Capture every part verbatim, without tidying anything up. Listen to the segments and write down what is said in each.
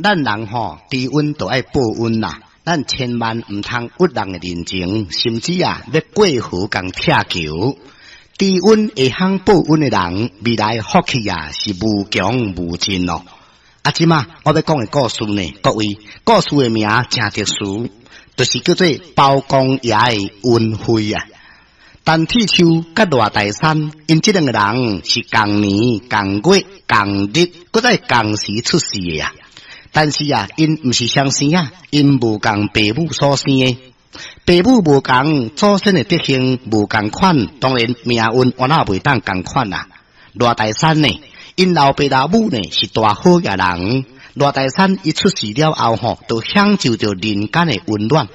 咱人吼知恩就愛報恩啦，咱千萬毋通屈人的人情，甚至啊欲過河共拆橋。知恩會曉報恩的人，未來福氣啊是無窮無盡咯。啊，這馬我欲講的故事呢，各位，故事的名誠特殊，就是叫做包公爺的恩惠啊。陳鐵樹佮賴大山，𪜶這兩个人是仝年、仝月、仝日，閣再仝時出世的啊。但是啊，𪜶毋是雙生啊，𪜶無仝爸母所生的，爸母無仝，祖先的德行無仝款，當然命運我哪袂當仝款啊。賴大山呢，𪜶老爸老母呢是大好額人。賴大山伊出世了後吼，就享受著人間的溫暖。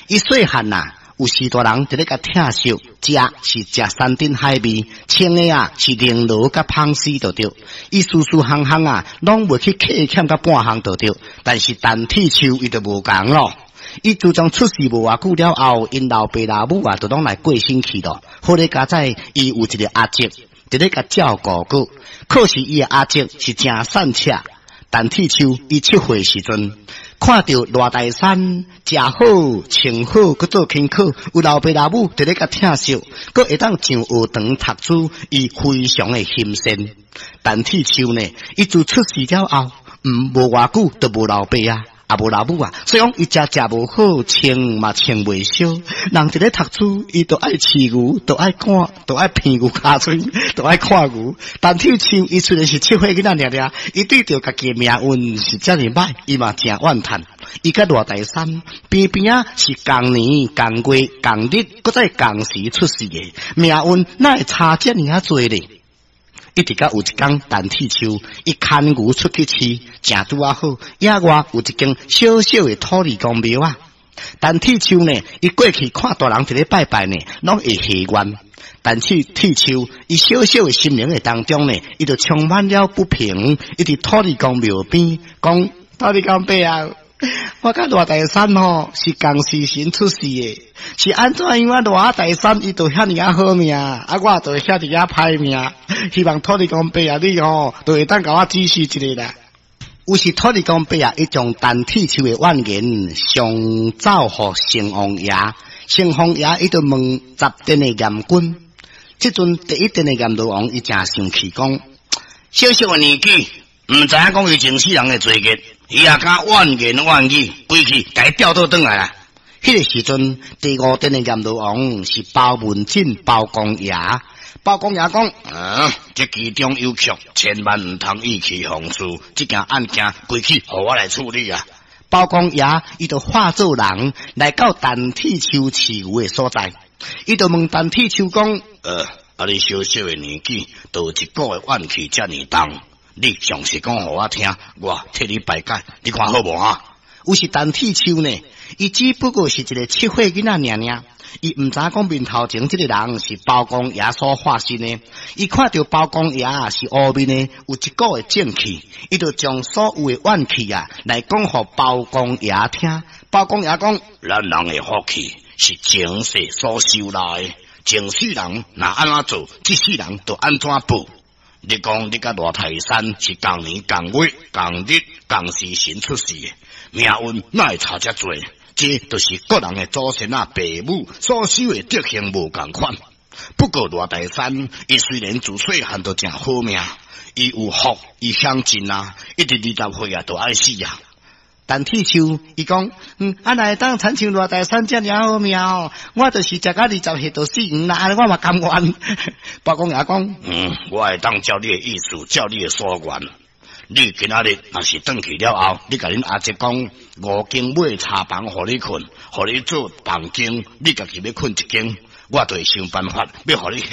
伊細漢啊，有序大人佇咧共疼惜，食是食山珍海味，穿的啊是绫羅佮紡絲就對。伊事事項項啊，攏袂去客欠佮半項就對。但是陳鐵樹伊就無仝咯。伊自從出世無偌久了後，𪜶老爸老母啊，就攏來過身去咯。好佳哉，伊有一个阿叔佇咧共照顧過，可是伊的阿叔是誠散赤。陳鐵樹伊七歲時陣，看著賴大山食好穿好，閣做功課，有老爸老母佇咧共疼惜，閣會當上學堂讀書，伊非常的欣羨。陳鐵樹呢，伊自出世了後，毋無偌久就無老爸啊，也無老母啊，所以講伊食食無好，穿嘛穿袂俗。人佇咧讀書，伊就愛飼牛，就愛趕，就愛鼻牛跤喙，就愛看牛。陳鐵樹伊雖然是七歲囡仔爾爾，伊對著家己的命運是遮爾歹，伊嘛誠怨嘆。伊佮賴大山邊邊仔是仝年、仝月、仝日，閣再仝時出世的，命運哪會差遮爾仔濟咧？一直到有一工，陳鐵樹伊牽牛出去飼，正拄仔好，野外有一間小小的土地公廟啊。陳鐵樹呢，伊過去看大人佇咧拜拜呢，攏會許願。陳鐵樹伊小小的心靈的當中呢，伊就充滿了不平，伊佇土地公廟邊講：土地公伯啊，我佮賴大山吼是仝時辰出世的，是按怎樣啊？賴大山伊就遐爾仔好命，啊我就遐爾仔歹命。希望土地公伯啊，你吼就會當共我指示一下啦。有時土地公伯啊，伊將陳鐵樹的怨言上奏予城隍爺，城隍爺伊就問十殿的閻君，這陣第一殿的閻羅王伊誠生氣講：小小的年紀，毋知影講伊前世人的罪孽，伊也敢怨言怨語，歸去共伊吊倒轉來啦。彼个時陣，第五殿的閻羅王是包文妗包公爺。包公爺講：嗯，這其中有蹺，千萬毋通意氣風事。這件案件歸去，予我來處理啊！包公爺伊就化做人來到陳鐵樹飼牛的所在，伊就問陳鐵樹講：呃，啊你小小的年紀，就有一股的怨氣遮爾重，你詳細講予我聽，我替你排解，你看好無啊？有時陳鐵樹呢，伊只不過是一个七歲囡仔爾爾，伊毋知講面頭前這个人是包公爺所化身的。伊看著包公爺是烏面的，有一股的正氣，伊就將所有的怨氣啊來講予包公爺聽。包公爺講：咱人的福氣是前世所修來的，前世人若按怎做，這世人就按怎報。你講你佮賴大山是仝年、仝月、仝日、仝時辰出世的，命運哪會差遮濟？這就是各人的祖先啊、爸母所修的德行無仝款。不過賴大山，伊雖然自細漢就誠好命，伊有福，伊享盡啊，一直二十歲啊，就愛死啊。陳鐵樹伊講，嗯，啊若會當親像賴大山遮爾好命哦，我就是食到二十歲就死黃啦，按呢我嘛甘願。包公爺講，嗯，我會當照你的意思，照你的所願。你今仔日若是轉去了後，你共恁阿叔講，五更買柴房予你睏，予你做房間，你家己欲睏一間，我就會想辦法欲予你遐。